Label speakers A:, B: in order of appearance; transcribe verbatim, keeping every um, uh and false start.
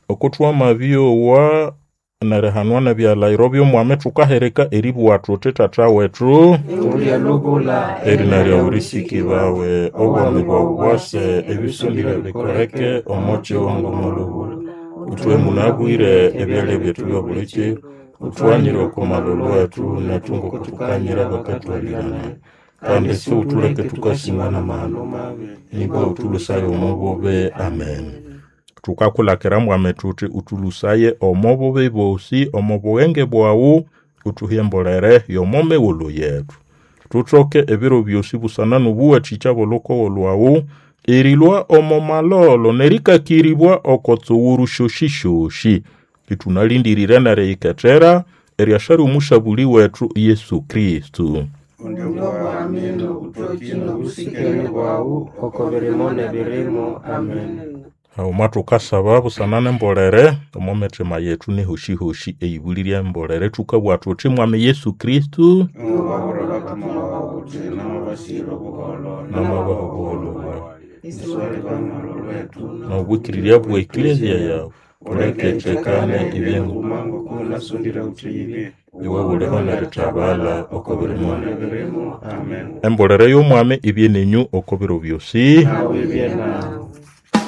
A: Oko twamabyowa nerihanwa nebyalahiro by'omwami thukahirika eribugha thuthi Tata wethu
B: Ulye lubula
A: erina lyawu lisikibawe obwami bwawu bwase ebisondire bikoleke omo kiwanga omo lubula uthuhe munabwire ebyalya byethu byobuli kiro uthughanyire oko malholo wethu nethu ngoko thukanyira abakathwalirana kandi siwuthuleke thukasimwa n'amahano mabi nibwa uthulhusaye omo bubi amen thukakulhakira mwami thuthi uthulhusaye omo bubi bosi omo bughenge bwawu uthuhe embolere y'omo mighulhu yethu thuthoke ebiro byosi busana n'obuwathikya bw'olhukogo lwawu erilhwa omo malholo nerikakiribwa oko tsughuru syosi-syosi ithunalhindirire neriyikethera eryasha ly'omusabuli wethu Yesu Kristo
B: Undi obwami n'obuthoki n'obusikene bwawu oko birimo n'ebirimo. Amen.
A: Haghuma thukasaba busana n'embolere omo mithima yethu nehosi-hosi eyibulirye embolere thukabugha thuthi mwami Yesu Kristo
B: Iwababwira abathumwa bawu uthi namabasire obuholho
A: Namabaha obuholho bwawu.
B: Isiwalibana lwethu
A: n'obwikirirya bwa eklezia yawu uleke ithekane ibye
B: nguma ngoko nasondire uthi yibye
A: iwe buliho nerithabala oko birimo
B: n'ebirimo. Amen.
A: embolere y'omwami ibye nenyu oko biro byosi
B: Nawe ibye nawe.